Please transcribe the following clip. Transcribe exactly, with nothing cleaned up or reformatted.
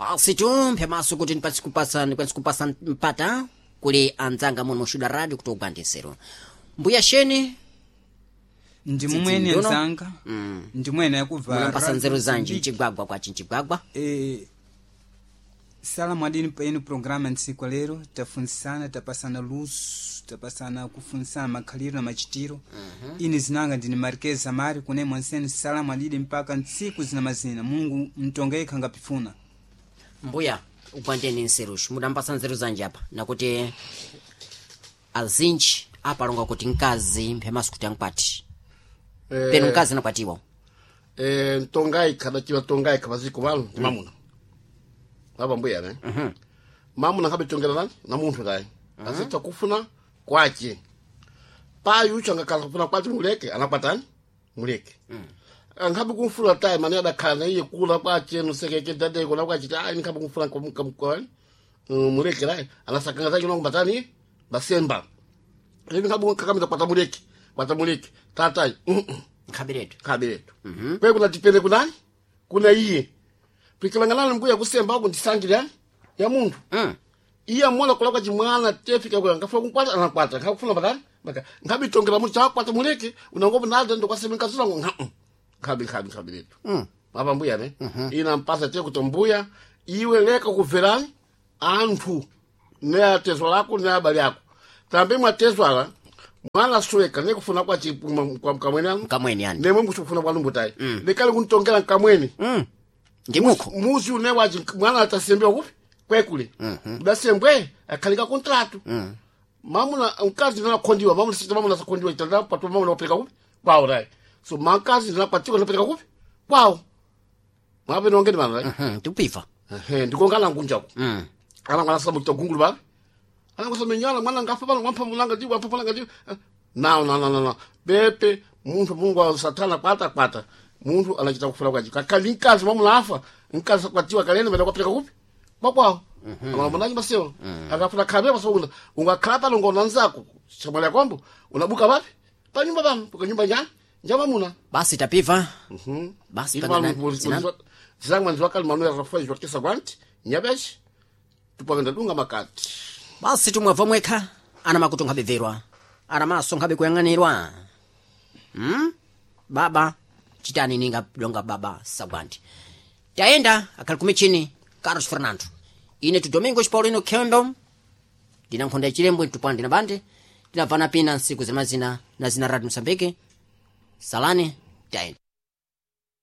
Basi tu maso kuti ndipatse kupasa ndikwanise kupasa mpata kuli anzanga muno mushuda radio kuti ugwandisero mbuya sheni ndi mumwene Ndono. nzanga ndi mwene yakubva munampasa Radio nzeru zanji Mozambique. mchigwagwa kwachi mchigwagwa Eh, salamu adini paenu programa ntsiku lero tafunsana tapasana luso tapasana kufunsana makhaliro na machitiro ine zinanga ndine Marquez Zamari kune mwanseni salamu adidi mpaka ntsiku zina mazina Mulungu mtonga yekha ngapifuna mbuya ugwandeni nseruxi mudampasa nzeru zanji apa nakuti azinji apalonga kuti mkazi mphemaso kuti ankwati Eh, penu mkazi anakwatiwa eh, ntongaikha dachiwa tongaikha paziko pano ndi mamuna apa mbuya ne mamuna nkhabitongera nani na munthu tayi azitha kufuna kwace payi ucho angakhala kufuna kwace muleke anakwatani muleke ankhabe kumfuna tayi mane adakhala na iye kula kwace nusekeke dadeko na kwace ayi nkhabe kumfuna kwani muleke layi anasakanga zake nongo batani basemba ivi nkhabe kakamita kwata muleke kwata muleke tatayi nkhabiretu kabiretu kwe kuna tipende kunani kuna iye pikilanganani mbuya kusemba ako ndisangile ya munthu mm. iye amola kulakwa chimwana tefika kwa ngafuna kumkwata anakwata ngakufuna batani baka ngabitongera munthu chakwata muleke unangopo nada ndokwasema nkazula ngo nka nkhabi nkhabi nkhabi letu mm. apa mbuya ne ina mpasa te kuti mbuya iwe leka kuverani anthu ne atezo lako ne abale ako tambe mwatezwala mwana suweka nekufuna kwa chi- kwa mkamwene anu mkamweni yani nemwe mkuchikufuna kwa lumbutayi lekale kuntongera mkamwene mm. ndimukho muzi une waji mwana atasembewa kupi kwekule udasembwe akhalika kontratu mamuna mkazi ndinakhondiwa mamuna sita mamuna sakhondiwa itanda patu mamuna wapereka kupi kwawo tayi so makazi ndinakwatiwa ndinapereka kupi kwawo mwape nongeni mana tayi mm. tikupiva ehe ndikongala ngunjako mm. anangwana samuchita gungulu pano anangosamenyala mwana ngafa pano wampha mulanga ndi wampha mulanga ndi no no no no no pepe munthu Mulungu wa satana kwata kwata munthu anachita kufuna kwaji kakali mkazi mwamuna afa mkazi akwatiwa kalene mene kwapereka kupi kwakwawo amalamonaki masewa akafuna khabe pasokuna ungakhala pano ngona nzako chamwali yakombo unabuka papi pa nyumba pano puka nyumba njani njamamuna basi tapiva basi pangana- zina- zilangwa nziwakali manuel rafael jorkesa kwanti nyabeshi tupakenda dunga makati basi tumwabva mwekha ana makutu nkhabeverwa ana maso nkhabe kuyang'anirwa hmm? baba chitani ninga donga baba sagwanti tayenda akhali kumichini Carlos Fernando ine tu Domingos Paulino Kendo ndina nkhonda ya chilembwe tupande na bande tinabvana pina nsiku zimazina na zina Radio Msambiki salani tayenda.